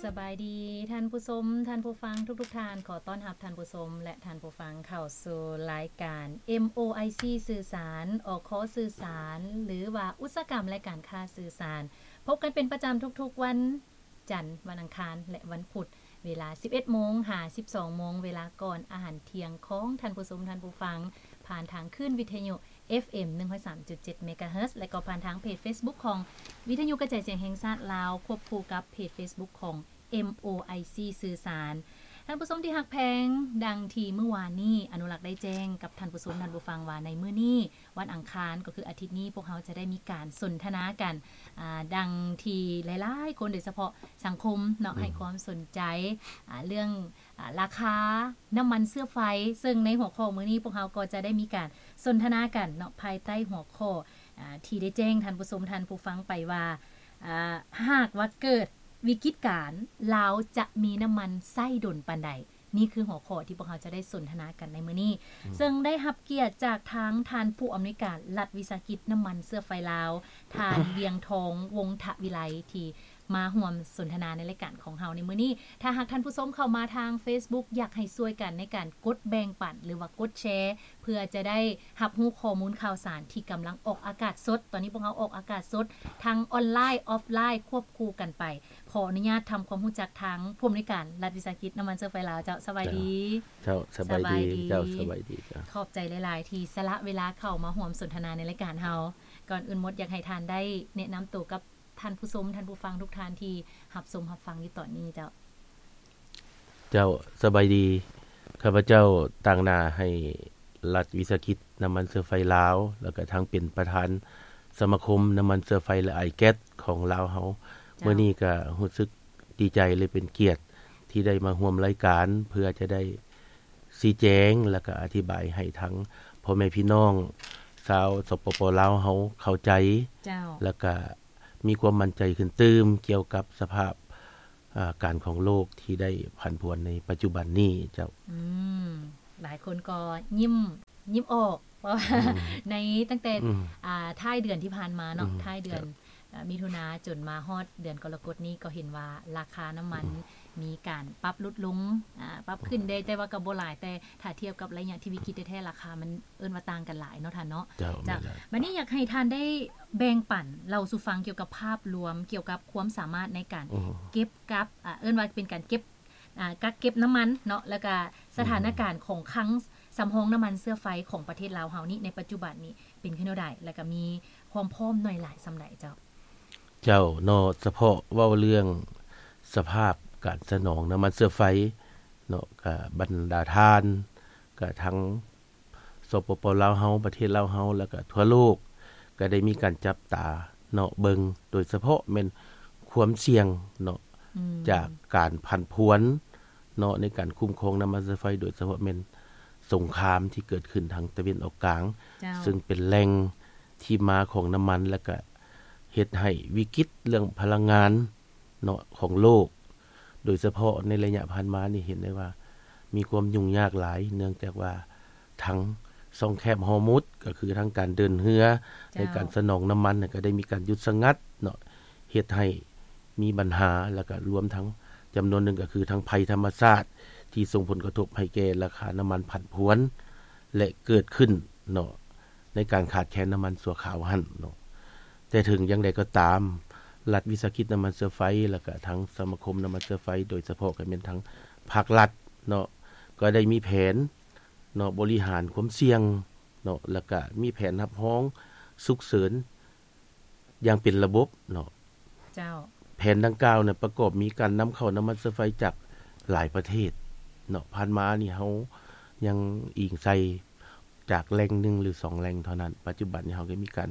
ສະບາຍດີທ່ານຜູ້ຊົມ, ທ່ານຜູ້ຟັງທຸກໆທ່ານ. ຂໍຕ້ອນຮັບທ່ານຜູ້ຊົມ ແລະ ທ່ານຜູ້ຟັງເຂົ້າສູ່ລາຍການ ເອັມໂອໄອຊີ ສື່ສານ, ອຄ ສື່ສານ ຫຼືວ່າອຸດສາຫະກຳ ແລະ ການຄ້າສື່ສານ. ພົບກັນເປັນປະຈຳທຸກໆວັນຈັນ, ວັນອັງຄານ ແລະ ວັນພຸດ ເວລາສິບເອັດໂມງຫາສິບສອງໂມງ, ເວລາກ່ອນອາຫານທ່ຽງຂອງທ່ານຜູ້ຊົມ, ທ່ານຜູ້ຟັງ ຜ່ານທາງຄື້ນວິທະຍຸ ເອັຟເອັມ ໜຶ່ງຮ້ອຍສາມຈຸດເຈັດ ເມກາເຮີດ ແລະ ກໍຜ່ານທາງເພຈເຟສບຸກຂອງວິທະຍຸກະຈາຍສຽງແຫ່ງຊາດລາວ ຄວບຄູ່ກັບເພຈເຟສບຸກຂອງ ເອັມໂອໄອຊີ ສື່ສານ. ທ່ານຜູ້ຊົມທີ່ຮັກແພງ, ດັ່ງທີ່ມື້ວານນີ້ອະນຸລັກໄດ້ແຈ້ງກັບທ່ານຜູ້ຊົມ, ທ່ານຜູ້ຟັງວ່າໃນມື້ນີ້ ວັນອັງຄານ ກໍຄືອາທິດນີ້ ພວກເຮົາຈະໄດ້ມີການສົນທະນາກັນ, ອາ, ດັ່ງທີ່ຫຼາຍໆຄົນ ໂດຍສະເພາະສັງຄົມເນາະ, ອືມ ໃຫ້ຄວາມສົນໃຈ, ອາ, ເລື່ອງ, ອາ, ລາຄານ້ຳມັນເຊື້ອໄຟ, ເຊິ່ງໃນຫົວຂໍ້ມື້ນີ້ ພວກເຮົາກໍຈະໄດ້ມີການສົນທະນາກັນເນາະ, ພາຍໃຕ້ຫົວຂໍ້, ອາ, ທີ່ໄດ້ແຈ້ງທ່ານຜູ້ຊົມ, ທ່ານຜູ້ຟັງໄປວ່າ, ອາ, ຫາກວ່າເກີດວິກິດການ, ລາວຈະມີນ້ຳມັນໃຊ້ດົນປານໃດ? ນີ້ຄືຫົວຂໍ້ທີ່ພວກເຮົາຈະໄດ້ສົນທະນາກັນໃນມື້ນີ້, ອືມ ເຊິ່ງໄດ້ຮັບກຽດຈາກທາງທ່ານຜູ້ອຳນວຍການລັດວິສາຫະກິດນ້ຳມັນເຊື້ອໄຟລາວ, ທ່ານ ວຽງທອງ ວົງທະວິໄລ ທີ່ມາຮ່ວມສົນທະນາໃນລາຍການຂອງເຮົາໃນມື້ນີ້. ຖ້າຫາກທ່ານຜູ້ຊົມເຂົ້າມາທາງເຟສບຸກ ຢາກໃຫ້ຊ່ວຍກັນໃນການກົດແບ່ງປັນ ຫຼືວ່າກົດແຊ ເພື່ອຈະໄດ້ຮັບຮູ້ຂໍ້ມູນຂ່າວສານທີ່ກຳລັງອອກອາກາດສົດ. ຕອນນີ້ພວກເຮົາອອກອາກາດສົດທັງອອນລາຍ, ອອຟລາຍ ຄວບຄູ່ກັນໄປ. ຂໍອະນຸຍາດທຳຄວາມຮູ້ຈັກທາງຜູ້ອຳນວຍການລັດວິສາຫະກິດນ້ຳມັນເຊື້ອໄຟລາວເຈົ້າ. ສະບາຍດີ. ເຈົ້າ, ສະບາຍດີເຈົ້າ. ສະບາຍດີເຈົ້າ. ຂອບໃຈຫຼາຍໆທີ່ສະຫຼະເວລາເຂົ້າມາຮ່ວມສົນທະນາໃນລາຍການເຮົາ. ກ່ອນອື່ນໝົດ ຢາກໃຫ້ທ່ານໄດ້ແນະນຳໂຕກັບທ່ານຜູ້ຊົມ, ທ່ານຜູ້ຟັງທຸກທ່ານທີ່ຮັບຊົມຮັບຟັງຢູ່ຕອນນີ້ເຈົ້າ. ເຈົ້າ, ສະບາຍດີ. ຂ້າພະເຈົ້າຕາງໜ້າໃຫ້ລັດວິສາຫະກິດນ້ຳມັນເຊື້ອໄຟລາວ ແລ້ວກະທັງເປັນປະທານສະມາຄົມນ້ຳມັນເຊື້ອໄຟ ແລະ ອາຍແກັສຂອງລາວເຮົາ. ເຈົ້າ. ມື້ນີ້ກະຮູ້ສຶກດີໃຈ ແລະ ເປັນກຽດທີ່ໄດ້ມາຮ່ວມລາຍການ ເພື່ອຈະໄດ້ຊີ້ແຈງ ແລ້ວກະອະທິບາຍໃຫ້ທັງພໍ່ແມ່ພີ່ນ້ອງຊາວ ສປປ ລາວເຮົາເຂົ້າໃຈ. ເຈົ້າ. ແລ້ວກະ ມີຄວາມໝັ້ນໃຈຂຶ້ນຕື່ມກ່ຽວກັບສະພາບ, ອາ, ການຂອງໂລກທີ່ໄດ້ຜັນຜວນໃນປັດຈຸບັນນີ້ເຈົ້າ. ອືມ, ຫຼາຍຄົນກໍຍິ້ມ, ຍິ້ມອອກ ເພາະວ່າ ອືມ ໃນຕັ້ງແຕ່, ອືມ ອາ, ທ້າຍເດືອນທີ່ຜ່ານມາເນາະ, ອືມ ທ້າຍເດືອນ, ເຈົ້າ, ອາ, ມິຖຸນາຈົນມາຮອດເດືອນກໍລະກົດນີ້ ກໍເຫັນວ່າລາຄານ້ຳມັນ ອືມ ມີການປັບຫຼຸດລົງ, ອາ, ປັບຂຶ້ນໄດ້, ແຕ່ວ່າກໍບໍ່ຫຼາຍ, ແຕ່ຖ້າທຽບກັບໄລຍະທີ່ວິກິດແທ້ໆ ລາຄາມັນເອີ້ນວ່າຕ່າງກັນຫຼາຍເນາະທ່ານເນາະ. ເຈົ້າ, ເຈົ້າ. ແມ່ນແລ້ວ. ບັດນີ້ຢາກໃຫ້ທ່ານໄດ້ແບ່ງປັນເລົ່າສູ່ຟັງກ່ຽວກັບພາບລວມ, ກ່ຽວກັບຄວາມສາມາດໃນການ ອືມ ເກັບກັກ, ອາ, ເອີ້ນວ່າເປັນການເກັບ, ອາ, ກັກເກັບນ້ຳມັນເນາະ, ແລ້ວກະສະຖານະການ ອືມ ຂອງຄັງສຳຮອງນ້ຳມັນເຊື້ອໄຟຂອງປະເທດລາວເຮົານີ້ ໃນປັດຈຸບັນນີ້ເປັນຄືແນວໃດ ແລ້ວກະມີຄວາມພ້ອມໜ້ອຍຫຼາຍສ່ຳໃດເຈົ້າ? ເຈົ້າເນາະ, ສະເພາະເວົ້າເລື່ອງສະພາບການສະໜອງນ້ຳມັນເຊື້ອໄຟເນາະ, ກະບັນດາທ່ານ, ກະທັງ ສປປ ລາວເຮົາ, ປະເທດລາວເຮົາ ແລ້ວກະທົ່ວໂລກ ກະໄດ້ມີການຈັບຕາເນາະເບິ່ງ, ໂດຍສະເພາະແມ່ນຄວາມສ່ຽງເນາະ, ອືມ ຈາກການຜັນຜວນເນາະ ໃນການຄຸ້ມຄອງນ້ຳມັນເຊື້ອໄຟ, ໂດຍສະເພາະແມ່ນສົງຄາມທີ່ເກີດຂຶ້ນທາງຕາເວັນອອກກາງ, ເຈົ້າ ເຊິ່ງເປັນແຫຼ່ງທີ່ມາຂອງນ້ຳມັນ ແລ້ວກະເຮັດໃຫ້ວິກິດເລື່ອງພະລັງງານເນາະ ຂອງໂລກ, ໂດຍສະເພາະໃນໄລຍະຜ່ານມານີ້ເຫັນໄດ້ວ່າມີຄວາມຫຍຸ້ງຍາກຫຼາຍ, ເນື່ອງຈາກວ່າທາງຊ່ອງແຄບຮອມຸດ ກໍຄືທາງການເດີນເຮືອ ເຈົ້າ ໃນການສະໜອງນ້ຳມັນ ກໍໄດ້ມີການຢຸດສະຫງັດເນາະ, ເຮັດໃຫ້ມີບັນຫາ, ແລ້ວກໍລວມທັງຈຳນວນໜຶ່ງ ກໍຄືທັງໄພທຳມະຊາດ ທີ່ສົ່ງຜົນກະທົບໃຫ້ແກ່ລາຄານ້ຳມັນຜັນຜວນ ແລະ ເກີດຂຶ້ນເນາະ ໃນການຂາດແຄນນ້ຳມັນຊົ່ວຄາວຫັ້ນເນາະ. ແຕ່ເຖິງຢ່າງໃດກໍຕາມ, ລັດວິສາຫະກິດນ້ຳມັນເຊື້ອໄຟ ແລ້ວກະທາງສະມາຄົມນ້ຳມັນເຊື້ອໄຟ ໂດຍສະເພາະກໍແມ່ນທາງພາກລັດເນາະ, ກໍໄດ້ມີແຜນເນາະ ບໍລິຫານຄວາມສ່ຽງເນາະ, ແລ້ວກະມີແຜນຮັບຮອງສຸກເສີນຢ່າງເປັນລະບົບເນາະ. ເຈົ້າ. ແຜນດັ່ງກ່າວນະ ປະກອບມີການນຳເຂົ້ານ້ຳມັນເຊື້ອໄຟຈາກຫຼາຍປະເທດເນາະ. ຜ່ານມານີ້ເຮົາຍັງອີງໃສ່ ຈາກແຫຼ່ງໜຶ່ງ ຫຼື ສອງແຫຼ່ງເທົ່ານັ້ນ. ປັດຈຸບັນນີ້ເຮົາກໍມີການ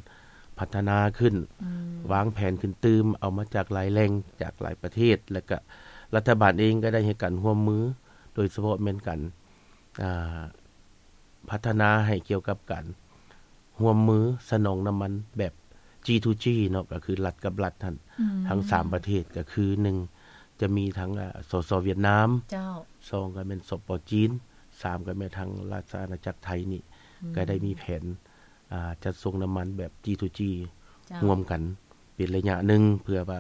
ພັດທະນາຂຶ້ນ, ອືມ ວາງແຜນຂຶ້ນຕື່ມ, ເອົາມາຈາກຫຼາຍແຫຼ່ງ, ຈາກຫຼາຍປະເທດ, ແລ້ວກະລັດຖະບານເອງກໍໄດ້ໃຫ້ການຮ່ວມມື, ໂດຍສະເພາະແມ່ນການ, ອາ, ພັດທະນາໃຫ້ກ່ຽວກັບການຮ່ວມມືສະໜອງນ້ຳມັນແບບ ຈີທູຈີ ເນາະ, ກໍຄືລັດກັບລັດຫັ້ນ, ອືມ ທັງສາມປະເທດ, ກໍຄື ໜຶ່ງ ຈະມີທັງ, ອາ, ສສ ຫວຽດນາມ, ເຈົ້າ ສອງ ກໍແມ່ນ ສປ ຈີນ, ສາມ ກໍແມ່ນທາງລາຊະອານາຈັກໄທນີ້, ອືມ ກໍໄດ້ມີແຜນ, ອາ, ຈັດສົ່ງນ້ຳມັນແບບ ຈີທູຈີ ເຈົ້າ ຮ່ວມກັນເປັນໄລຍະໜຶ່ງ ເພື່ອວ່າ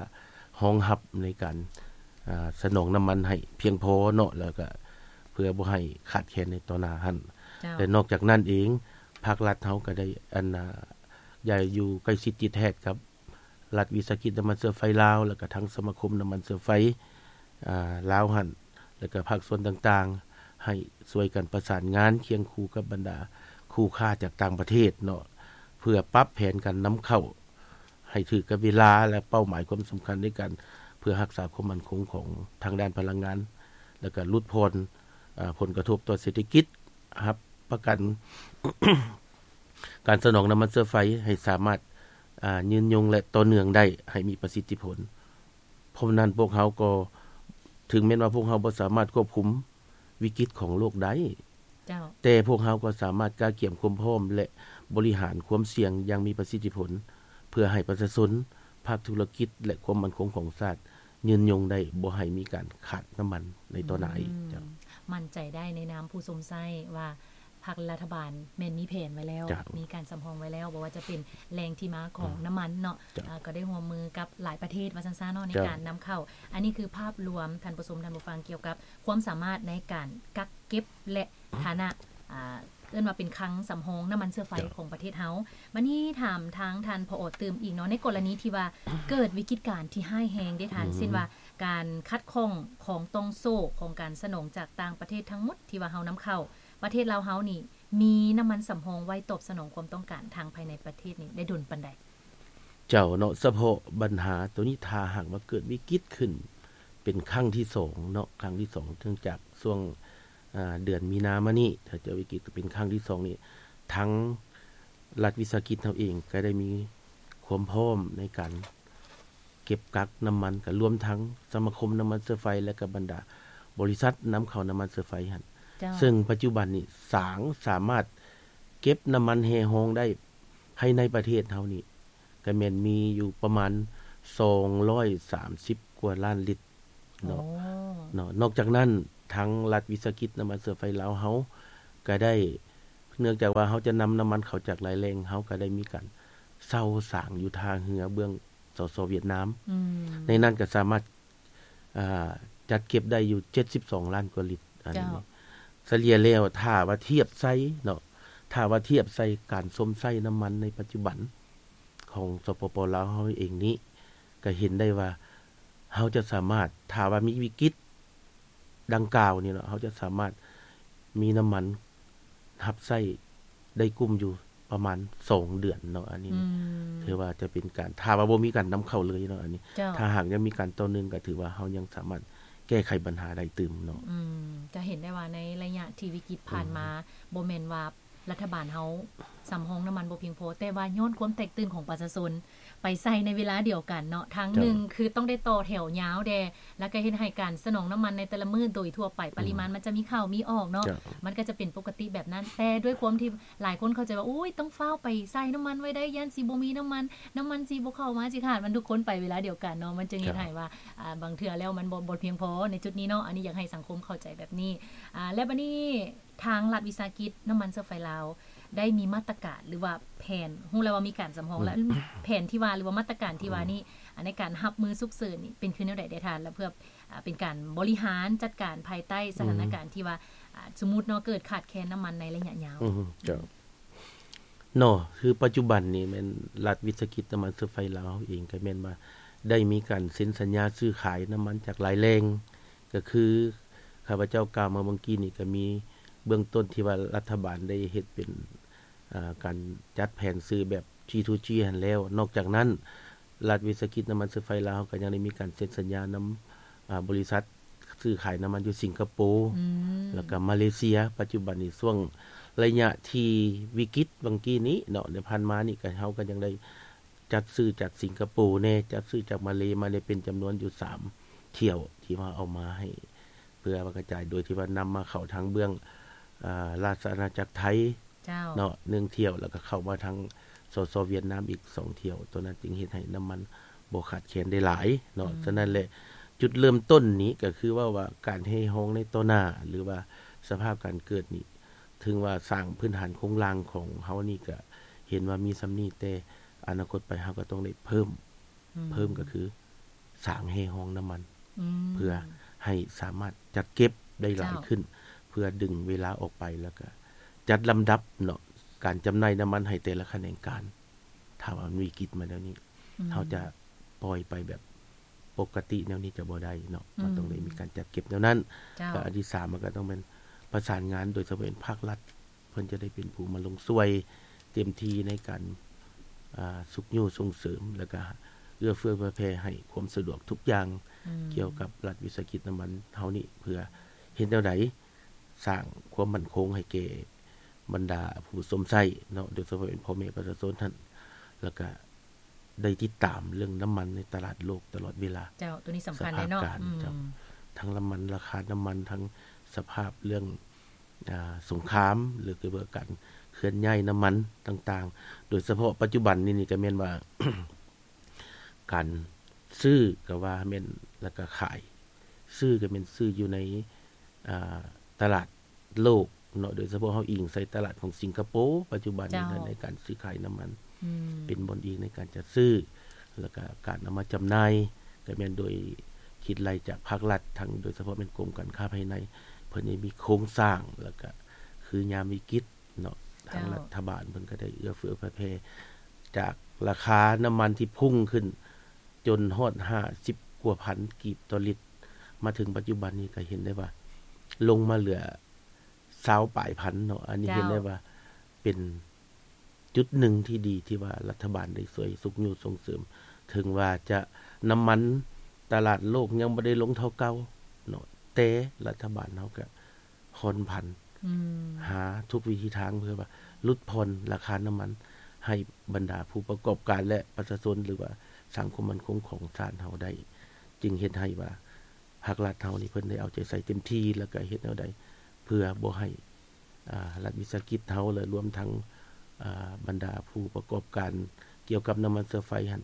ຮອງຮັບໃນການ ອາ ສະໜອງນ້ຳມັນໃຫ້ພຽງພໍເນາະ ແລ້ວກະເພື່ອບໍ່ໃຫ້ຂາດແຄນໃນຕໍ່ໜ້າຫັ້ນ. ເຈົ້າ. ແລະນອກຈາກນັ້ນເອງ ພາກລັດເຮົາກໍໄດ້ ອັນ ອາ ໄດ້ຢູ່ໃກ້ຊິດຕິດແທດກັບລັດວິສາຫະກິດນ້ຳມັນເຊື້ອໄຟລາວ ແລ້ວກະທັງສະມາຄົມນ້ຳມັນເຊື້ອໄຟ ອາ ລາວຫັ້ນ ແລ້ວກະພາກສ່ວນຕ່າງໆ ໃຫ້ຊ່ວຍກັນປະສານງານຄຽງຄູ່ກັບບັນດາຄູ່ຄ້າຈາກຕ່າງປະເທດເນາະ ເພື່ອປັບແຜນການນຳເຂົ້າ ໃຫ້ຖືກກັບເວລາ ແລະ ເປົ້າໝາຍຄວາມສຳຄັນໃນການເພື່ອຮັກສາຄວາມໝັ້ນຄົງຂອງທາງດ້ານພະລັງງານ ແລະ ກະຫຼຸດຜ່ອນ ອາ ຜົນກະທົບຕໍ່ເສດຖະກິດ, ຮັບປະກັນການສະໜອງນ້ຳມັນເຊື້ອໄຟໃຫ້ສາມາດ ອາ ຍືນຍົງ ແລະ ຕໍ່ເນື່ອງໄດ້ໃຫ້ມີປະສິດທິຜົນ. ເພາະນັ້ນພວກເຮົາກໍ ເຖິງແມ່ນວ່າພວກເຮົາບໍ່ສາມາດຄວບຄຸມວິກິດຂອງໂລກໄດ້, ເຈົ້າ. ແຕ່ພວກເຮົາກໍສາມາດກະກຽມຄວາມພ້ອມ ແລະ ບໍລິຫານຄວາມສ່ຽງຢ່າງມີປະສິດທິຜົນ ເພື່ອໃຫ້ປະຊາຊົນ, ພາກທຸລະກິດ ແລະ ຄວາມໝັ້ນຄົງຂອງຊາດຍືນຍົງໄດ້, ບໍ່ໃຫ້ມີການຂາດນ້ຳມັນໃນຕໍ່ໜ້າອີກ. ອືມ ເຈົ້າ. ໝັ້ນໃຈໄດ້ໃນນາມຜູ້ຊົມໃຊ້ວ່າ ພາກລັດຖະບານແມ່ນມີແຜນໄວ້ແລ້ວ, ເຈົ້າ. ມີການສຳຮອງໄວ້ແລ້ວ, ບໍ່ວ່າຈະເປັນແຫຼ່ງທີ່ມາຂອງ ອືມ ນ້ຳມັນເນາະ, ເຈົ້າ. ອາ ກໍໄດ້ຮ່ວມມືກັບຫຼາຍປະເທດວ່າຊັ້ນຊະເນາະ ໃນ ເຈົ້າ. ການນຳເຂົ້າ. ອັນນີ້ຄືພາບລວມ, ທ່ານຜູ້ຊົມ, ທ່ານຜູ້ຟັງ, ກ່ຽວກັບຄວາມສາມາດໃນການກັກເກັບ ແລະ ຖານະ ອ່າ ເອີ້ນວ່າເປັນຄັງສຳຮອງນ້ຳມັນເຊື້ອໄຟ ເຈົ້າ. ຂອງປະເທດເຮົາ. ບັດນີ້ຖາມທາງທ່ານ ຜອ ຕື່ມອີກເນາະ, ໃນກໍລະນີທີ່ວ່າເກີດວິກິດການທີ່ຮ້າຍແຮງເດ້ທ່ານ, ອືມ ເຊັ່ນວ່າການຂັດຂ້ອງຂອງຕ່ອງໂສ້ຂອງການສະໜອງຈາກຕ່າງປະເທດທັງໝົດທີ່ວ່າເຮົານຳເຂົ້າ, ປະເທດລາວເຮົານີ້ມີນ້ຳມັນສຳຮອງໄວ້ຕອບສະໜອງຄວາມຕ້ອງການທາງພາຍໃນປະເທດນີ້ໄດ້ດົນປານໃດ? ເຈົ້າເນາະ, ສະເພາະບັນຫາໂຕນີ້ ຖ້າຫາກວ່າເກີດວິກິດຂຶ້ນເປັນຄັ້ງທີສອງເນາະ, ຄັ້ງທີສອງ ເນື່ອງຈາກຊ່ວງ ອາ ເດືອນມີນາມານີ້ ຖ້າເກີດວິກິດເປັນຄັ້ງທີສອງນີ້ ທາງລັດວິສາຫະກິດເຮົາເອງກໍໄດ້ມີຄວາມພ້ອມໃນການ ເກັບກັກນ້ຳມັນ ກໍລວມທັງສະມາຄົມນ້ຳມັນເຊື້ອໄຟ ແລະ ກໍບັນດາບໍລິສັດນຳເຂົ້ານ້ຳມັນເຊື້ອໄຟຫັ້ນ. ເຈົ້າ. ເຊິ່ງປັດຈຸບັນນີ້ສາງສາມາດເກັບນ້ຳມັນແຮ່ຮອງໄດ້ພາຍໃນປະເທດເຮົານີ້ ກໍແມ່ນມີຢູ່ປະມານສອງຮ້ອຍສາມສິບກວ່າລ້ານລິດເນາະ. ໂອ້. ເນາະ. ນອກຈາກນັ້ນ ທາງລັດວິສາຫະກິດນ້ຳມັນເຊື້ອໄຟລາວເຮົາກໍໄດ້ ເນື່ອງຈາກວ່າເຮົາຈະນຳນ້ຳມັນເຂົ້າຈາກຫຼາຍແຫຼ່ງ, ເຮົາກໍໄດ້ມີການເຊົ່າສາງຢູ່ທ່າເຮືອເບື້ອງ ສສ ຫວຽດນາມ. ອືມ. ໃນນັ້ນກໍສາມາດ ອ່າ ຈັດເກັບໄດ້ຢູ່ເຈັດສິບສອງລ້ານກວ່າລິດ. ອັນນີ້ ເຈົ້າ. ສະເລ່ຍແລ້ວ ຖ້າວ່າທຽບໃສ່ເນາະ, ຖ້າວ່າທຽບໃສ່ການຊົມໃຊ້ນ້ຳມັນໃນປັດຈຸບັນຂອງ ສປປ ລາວ ເຮົາເອງນີ້ ກໍເຫັນໄດ້ວ່າເຮົາຈະສາມາດ, ຖ້າວ່າມີວິກິດ ດັ່ງກ່າວນີ້ເນາະ, ເຮົາຈະສາມາດມີນ້ຳມັນຮັບໃຊ້ໄດ້ກຸ້ມຢູ່ປະມານສອງເດືອນເນາະ. ອັນນີ້ ອືມ ຖືວ່າຈະເປັນການ, ຖ້າວ່າບໍ່ມີການນຳເຂົ້າເລີຍເນາະ, ອັນນີ້ ເຈົ້າ. ຖ້າຫາກຍັງມີການຕໍ່ເນື່ອງ ກໍຖືວ່າເຮົາຍັງສາມາດແກ້ໄຂບັນຫາໄດ້ຕື່ມເນາະ. ອືມ ຈະເຫັນໄດ້ວ່າໃນໄລຍະທີ່ວິກິດຜ່ານມາ ອືມ ບໍ່ແມ່ນວ່າ ລັດຖະບານເຮົາສຳຮອງນ້ຳມັນບໍ່ພຽງພໍ, ແຕ່ວ່າຍ້ອນຄວາມແຕກຕື່ນຂອງປະຊາຊົນໄປໃສ່ໃນເວລາດຽວກັນເນາະ, ທາງ ເຈົ້າ ໜຶ່ງຄືຕ້ອງໄດ້ຕໍ່ແຖວຍາວແດ່, ແລ້ວກໍເຮັດໃຫ້ການສະໜອງນ້ຳມັນໃນແຕ່ລະມື້ໂດຍທົ່ວໄປ ອືມ ປະລິມານມັນຈະມີເຂົ້າມີອອກເນາະ, ເຈົ້າ ມັນກໍຈະເປັນປົກກະຕິແບບນັ້ນ. ແຕ່ດ້ວຍຄວາມທີ່ຫຼາຍຄົນເຂົ້າໃຈວ່າ ໂອ້ຍ ຕ້ອງຟ້າວໄປໃສ່ນ້ຳມັນໄວ້ໄດ້, ຢ້ານຊິບໍ່ມີນ້ຳມັນ, ນ້ຳມັນຊິບໍ່ເຂົ້າມາ, ຊິຂາດ, ມັນທຸກຄົນໄປເວລາດຽວກັນເນາະ, ມັນຈຶ່ງເຮັດ ເຈົ້າ ໃຫ້ວ່າ ອ່າ ບາງເທື່ອແລ້ວມັນບໍ່ ບໍ່ພຽງພໍໃນຈຸດນີ້ເນາະ. ອັນນີ້ຢາກໃຫ້ສັງຄົມເຂົ້າໃຈແບບນີ້. ອ່າ ແລະ ບັດນີ້ ທາງລັດວິສາຫະກິດນ້ຳມັນເຊື້ອໄຟລາວ ໄດ້ມີມາດຕະການ ຫຼືວ່າແຜນ, ຮູ້ແລ້ວວ່າມີການສຳຮອງ ອືມ ແລ້ວ ແຜນທີ່ວ່າ ຫຼືວ່າມາດຕະການທີ່ວ່ານີ້ ອືມ ໃນການຮັບມືສຸກເສີນນີ້ ເປັນຄືແນວໃດແດ່ທ່ານ? ແລະ ເພື່ອ ອ່າ ເປັນການບໍລິຫານຈັດການພາຍໃຕ້ສະຖານະການ ອືມ ທີ່ວ່າ ອ່າ ສົມມຸດເນາະ ເກີດຂາດແຄນນ້ຳມັນໃນໄລຍະຍາວ. ອືມ ເຈົ້າ ເນາະ, ຄືປັດຈຸບັນນີ້ແມ່ນລັດວິສາຫະກິດນ້ຳມັນເຊື້ອໄຟລາວເຮົາເອງ ກໍແມ່ນວ່າໄດ້ມີການເຊັນສັນຍາຊື້ຂາຍນ້ຳມັນຈາກຫຼາຍແຫຼ່ງ, ກໍຄືຂ້າພະເຈົ້າກ່າວມາເມື່ອກີ້ນີ້ ກໍມີເບື້ອງຕົ້ນທີ່ວ່າລັດຖະບານໄດ້ເຮັດເປັນ ອ່າ ການຈັດແຜນຊື້ແບບ ຈີທູຈີ ຫັ້ນແລ້ວ. ນອກຈາກນັ້ນ ລັດວິສາຫະກິດນ້ຳມັນເຊື້ອໄຟລາວ ເຮົາກໍຍັງໄດ້ມີການເຊັນສັນຍານຳ ອ່າ ບໍລິສັດຊື້ຂາຍນ້ຳມັນຢູ່ສິງກະໂປ ອືມ ແລ້ວກໍມາເລເຊຍ. ປັດຈຸບັນນີ້ຊ່ວງໄລຍະທີ່ວິກິດຫວ່າງກີ້ນີ້ເນາະ, ໃນຜ່ານມານີ້ກໍ ເຮົາກໍຍັງໄດ້ຈັດຊື້ຈາກສິງກະໂປແດ່, ຈັດຊື້ຈາກມາເລມາແດ່, ເປັນຈຳນວນຢູ່ສາມຖ້ຽວທີ່ວ່າເອົາມາໃຫ້ ເພື່ອວ່າກະຈາຍ ໂດຍທີ່ວ່ານຳມາເຂົ້າທາງເບື້ອງ ອ່າ ລາຊະອານາຈັກໄທ ເຈົ້າ ເນາະ ໜຶ່ງຖ້ຽວ, ແລ້ວກໍເຂົ້າມາທາງ ສສ ຫວຽດນາມອີກສອງຖ້ຽວ. ຕົວນັ້ນຈຶ່ງເຮັດໃຫ້ນ້ຳມັນບໍ່ຂາດແຄນໄດ້ຫຼາຍເນາະ. ອືມ ສະນັ້ນແຫຼະ ຈຸດເລີ່ມຕົ້ນນີ້ກໍຄືເວົ້າວ່າການແຮ່ຮອງໃນຕໍ່ໜ້າ ຫຼືວ່າສະພາບການເກີດນີ້ ເຖິງວ່າສ້າງພື້ນຖານໂຄງລ່າງຂອງເຮົານີ້ກໍເຫັນວ່າມີສ່ຳນີ້, ແຕ່ອະນາຄົດໄປເຮົາກໍຕ້ອງໄດ້ເພີ່ມ, ອືມ ເພີ່ມກໍຄືສ້າງແຮ່ຮອງນ້ຳມັນ. ອືມ ເພື່ອໃຫ້ສາມາດຈັດເກັບໄດ້ຫຼາຍຂຶ້ນ ເຈົ້າ ເພື່ອດຶງເວລາອອກໄປ ແລ້ວກະຈັດລຳດັບເນາະ ການຈຳໜ່າຍນ້ຳມັນໃຫ້ແຕ່ລະຂະແໜງການ. ຖ້າວ່າມັນວິກິດມາແນວນີ້ ອືມ ເຮົາຈະປ່ອຍໄປແບບປົກກະຕິແນວນີ້ຈະບໍ່ໄດ້ເນາະ ອືມ ມັນຕ້ອງໄດ້ມີການຈັດເກັບແນວນັ້ນ. ເຈົ້າ ແລະ ອັນທີສາມ ມັນກໍຕ້ອງແມ່ນປະສານງານ ໂດຍສະເພາະເປັນພາກລັດ ເພິ່ນຈະໄດ້ເປັນຜູ້ມາລົງຊ່ວຍເຕັມທີ່ໃນການ ອ່າ ຊຸກຍູ້ສົ່ງເສີມ ແລ້ວກະເອື້ອເຟື້ອເຜື່ອແຜ່ໃຫ້ຄວາມສະດວກທຸກຢ່າງ ອືມ ກ່ຽວກັບລັດວິສາຫະກິດນ້ຳມັນເຮົານີ້ ເພື່ອເຮັດແນວໃດສ້າງຄວາມໝັ້ນຄົງໃຫ້ແກ່ບັນດາຜູ້ຊົມໃຊ້ເນາະ ໂດຍສະເພາະເປັນພໍ່ແມ່ປະຊາຊົນຫັ້ນ ແລ້ວກະໄດ້ຕິດຕາມເລື່ອງນ້ຳມັນໃນຕະຫຼາດໂລກຕະຫຼອດເວລາ. ເຈົ້າ ໂຕນີ້ສຳຄັນເດ້ເນາະ ສະພາບການ ອືມ ເຈົ້າ ທັງນ້ຳມັນ ລາຄານ້ຳມັນ ທັງສະພາບເລື່ອງ ອ່າ ສົງຄາມ ຫຼື ກ່ຽວກັບການເຄື່ອນຍ້າຍນ້ຳມັນຕ່າງໆ ໂດຍສະເພາະປັດຈຸບັນນີ້ ນີ້ກໍແມ່ນວ່າ ການຊື້ກໍວ່າແມ່ນ ແລ້ວກໍຂາຍ ຊື້ກໍແມ່ນຊື້ຢູ່ໃນ ອ່າ ຕະຫຼາດໂລກເນາະ ໂດຍສະເພາະເຮົາອີງໃສ່ຕະຫຼາດຂອງສິງກະໂປ ປັດຈຸບັນນີ້ ເຈົ້າ ໃນການຊື້ຂາຍນ້ຳມັນ ອືມ ເປັນບ່ອນອີງໃນການຈັດຊື້ ແລ້ວກໍການເອົາມາຈຳໜ່າຍ ກໍແມ່ນໂດຍຄິດໄລ່ຈາກພາກລັດ ທັງໂດຍສະເພາະແມ່ນກົມການຄ້າພາຍໃນ ເພິ່ນໄດ້ມີໂຄງສ້າງ ແລ້ວກໍຄືຍາມວິກິດເນາະ ທາງ ເຈົ້າ ລັດຖະບານເພິ່ນກໍໄດ້ເອື້ອເຟື້ອເຜື່ອແຜ່ ຈາກລາຄານ້ຳມັນທີ່ພຸ່ງຂຶ້ນຈົນຮອດຫ້າສິບກວ່າພັນກີບຕໍ່ລິດ ມາເຖິງປັດຈຸບັນນີ້ກໍເຫັນໄດ້ວ່າລົງມາເຫຼືອຊາວປາຍພັນເນາະ ອັນນີ້ ເຈົ້າ ເຫັນໄດ້ວ່າເປັນ ຈຸດໜຶ່ງທີ່ດີທີ່ວ່າລັດຖະບານໄດ້ຊ່ວຍຊຸກຍູ້ສົ່ງເສີມ ເຖິງວ່າຈະ ນ້ຳມັນຕະຫຼາດໂລກຍັງບໍ່ໄດ້ລົງເທົ່າເກົ່າເນາະ ແຕ່ລັດຖະບານເຮົາກະຜ່ອນຜັນ ອືມ ຫາທຸກວິທີທາງເພື່ອວ່າຫຼຸດຜ່ອນລາຄານ້ຳມັນໃຫ້ບັນດາຜູ້ປະກອບການ ແລະ ປະຊາຊົນ ຫຼືວ່າສ້າງຄວາມໝັ້ນຄົງຂອງຊາດເຮົາໄດ້ ຈຶ່ງເຮັດໃຫ້ວ່າ ພາກລັດເຮົານີ້ເພິ່ນໄດ້ເອົາໃຈໃສ່ເຕັມທີ່ ແລ້ວກະເຮັດແນວໃດເພື່ອບໍ່ໃຫ້ ອາ ລັດວິສາຫະກິດເຮົາ ແລະ ລວມທັງ ອາ ບັນດາຜູ້ປະກອບການກ່ຽວກັບນ້ຳມັນເຊື້ອໄຟຫັ້ນ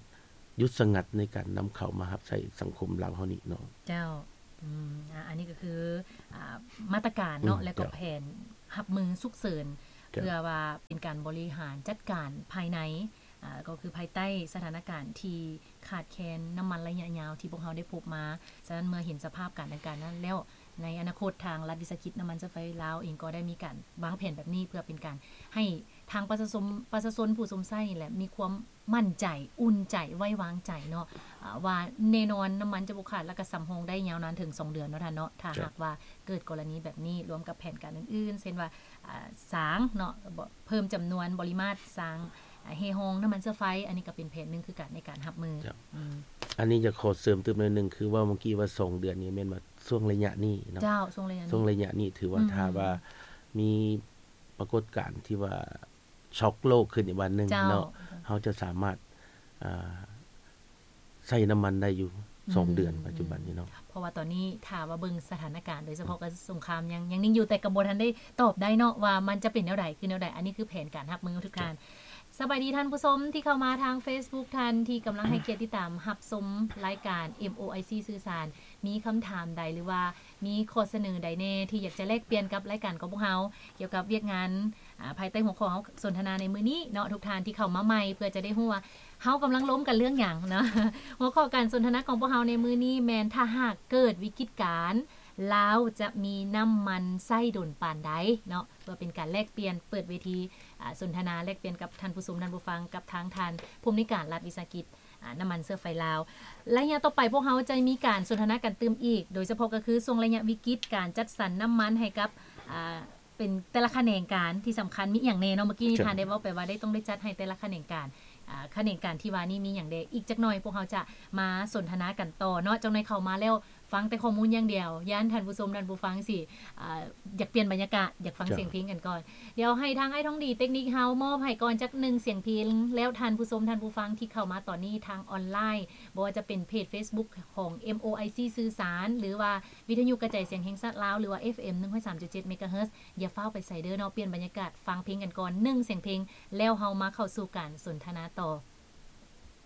ຢຸດສະຫງັດໃນການນຳເຂົ້າມາຮັບໃຊ້ສັງຄົມລາວເຮົານີ້ເນາະ. ເຈົ້າ ອືມ ອາ ອັນນີ້ກໍຄື ອາ ມາດຕະການເນາະ ອືມ ແລະກໍ ເຈົ້າ ແຜນຮັບມືສຸກເສີນ ເຈົ້າ ເພື່ອວ່າເປັນການບໍລິຫານຈັດການພາຍໃນ ອາ ກໍຄືພາຍໃຕ້ສະຖານະການທີ່ຂາດແຄນນ້ຳມັນໄລຍະຍາວທີ່ພວກເຮົາໄດ້ພົບມາ. ສະນັ້ນເມື່ອເຫັນສະພາບການດັ່ງກ່າວນັ້ນແລ້ວ ໃນອະນາຄົດທາງລັດວິສາຫະກິດນ້ຳມັນເຊື້ອໄຟລາວເອງກໍໄດ້ມີການວາງແຜນແບບນີ້ ເພື່ອເປັນການໃຫ້ທາງປະຊາຊົນ ປະຊາຊົນຜູ້ຊົມໃຊ້ນີ້ແຫຼະ ມີຄວາມໝັ້ນໃຈ ອຸ່ນໃຈ ໄວ້ວາງໃຈເນາະ ອາ ວ່າແນ່ນອນນ້ຳມັນຈະບໍ່ຂາດ ແລ້ວກໍສຳຮອງໄດ້ຍາວນານເຖິງສອງເດືອນເນາະທ່ານເນາະ. ຖ້າ ເຈົ້າ ຫາກວ່າເກີດກໍລະນີແບບນີ້ ລວມກັບແຜນການອື່ນໆ ເຊັ່ນວ່າ ອາ ສ້າງເນາະ ເພີ່ມຈຳນວນບໍລິມາດສ້າງ ອາ ແຮ່ຮອງນ້ຳມັນເຊື້ອໄຟ ອັນນີ້ກໍເປັນແຜນໜຶ່ງຄືກັນໃນການຮັບມື. ເຈົ້າ ອືມ ອັນນີ້ຈະຂໍເສີມຕື່ມໜ້ອຍໜຶ່ງ ຄືເວົ້າເມື່ອກີ້ວ່າສອງເດືອນນີ້ ແມ່ນວ່າຊ່ວງໄລຍະນີ້ເນາະ. ເຈົ້າ ຊ່ວງໄລຍະນີ້ ຊ່ວງໄລຍະນີ້ຖືວ່າ ອືມ ຖ້າວ່າມີປາກົດການທີ່ວ່າຊັອກໂລກຂຶ້ນອີກບາດໜຶ່ງ ເຈົ້າ ເນາະ ເຮົາຈະສາມາດ ອາ ໃຊ້ນ້ຳມັນໄດ້ຢູ່ສອງເດືອນ ອືມ ປັດຈຸບັນນີ້ເນາະ. ເພາະວ່າຕອນນີ້ຖ້າວ່າເບິ່ງສະຖານະການ ໂດຍສະເພາະ ອືມ ກັບສົງຄາມຍັງ ຍັງນິ່ງຢູ່ ແຕ່ກໍບໍ່ທັນໄດ້ຕອບໄດ້ເນາະວ່າມັນຈະເປັນແນວໃດ ຄືແນວໃດ. ອັນນີ້ຄືແຜນການຮັບມືທຸກທ່ານ. ສະບາຍດີທ່ານຜູ້ຊົມທີ່ເຂົ້າມາທາງເຟສບຸກ ທ່ານທີ່ກຳລັງໃຫ້ກຽດຕິດຕາມຮັບຊົມລາຍການ ເອັມ ໂອ ໄອ ຊີ ສື່ສານ ມີຄຳຖາມໃດ ຫຼືວ່າມີຂໍ້ສະເໜີໃດແດ່ທີ່ຢາກຈະແລກປ່ຽນກັບລາຍການຂອງພວກເຮົາ ກ່ຽວກັບວຽກງານ ອາ ພາຍໃຕ້ຫົວຂໍ້ເຮົາສົນທະນາໃນມື້ນີ້ເນາະ. ທຸກທ່ານທີ່ເຂົ້າມາໃໝ່ ເພື່ອຈະໄດ້ຮູ້ວ່າເຮົາກຳລັງລົມກັນເລື່ອງຫຍັງເນາະ. ຫົວຂໍ້ການສົນທະນາຂອງພວກເຮົາໃນມື້ນີ້ແມ່ນ ຖ້າຫາກເກີດວິກິດການ ລາວຈະມີນ້ຳມັນໃຊ້ດົນປານໃດເນາະ. ເພື່ອເປັນການແລກປ່ຽນ ເປີດເວທີ ອາ ສົນທະນາແລກປ່ຽນກັບທ່ານຜູ້ຊົມ ທ່ານຜູ້ຟັງ ກັບທາງທ່ານຜູ້ອຳນວຍການລັດວິສາຫະກິດ ອາ ນ້ຳມັນເຊື້ອໄຟລາວ. ໄລຍະຕໍ່ໄປພວກເຮົາຈະມີການສົນທະນາກັນຕື່ມອີກ ໂດຍສະເພາະກໍຄືຊ່ວງໄລຍະວິກິດ ການຈັດສັນນ້ຳມັນໃຫ້ກັບ ອາ ເປັນແຕ່ລະຂະແໜງການທີ່ສຳຄັນ ມີອີ່ຫຍັງແດ່ເນາະ. ເມື່ອກີ້ນີ້ ເຈົ້າ ທ່ານໄດ້ເວົ້າໄປວ່າໄດ້ ຕ້ອງໄດ້ຈັດໃຫ້ແຕ່ລະຂະແໜງການ ອາ ຂະແໜງການທີ່ວ່ານີ້ມີຫຍັງແດ່. ອີກຈັກໜ່ອຍພວກເຮົາຈະມາສົນທະນາກັນຕໍ່ເນາະ. ຈັກໜ່ອຍເຂົ້າມາແລ້ວ ຟັງແຕ່ຂໍ້ມູນຢ່າງດຽວ ຢ້ານທ່ານຜູ້ຊົມທ່ານຜູ້ຟັງຊິ ອາ ຢາກປ່ຽນບັນຍາກາດ ຢາກຟັງ ເຈົ້າ ສຽງເພງກັນກ່ອນ. ດຽວໃຫ້ທາງອ້າຍທອງດີເຕັກນິກເຮົາມອບໃຫ້ກ່ອນຈັກໜຶ່ງສຽງເພງ ແລ້ວທ່ານຜູ້ຊົມທ່ານຜູ້ຟັງທີ່ເຂົ້າມາຕອນນີ້ທາງອອນລາຍ ບໍ່ວ່າຈະເປັນເພຈເຟສບຸກຂອງ ເອັມ ໂອ ໄອ ຊີ ສື່ສານ ຫຼືວ່າວິທະຍຸກະຈາຍສຽງແຫ່ງຊາດລາວ ຫຼືວ່າ ເອັຟເອັມ ໜຶ່ງຮ້ອຍສາມຈຸດເຈັດ ເມກາເຮີດ ຢ່າຟ້າວໄປໃສເດີເນາະ. ປ່ຽນບັນຍາກາດ ຟັງເພງກັນກ່ອນ ໜຶ່ງສຽງເພງ ແລ້ວເຮົາມາເຂົ້າສູ່ການສົນທະນາຕໍ່.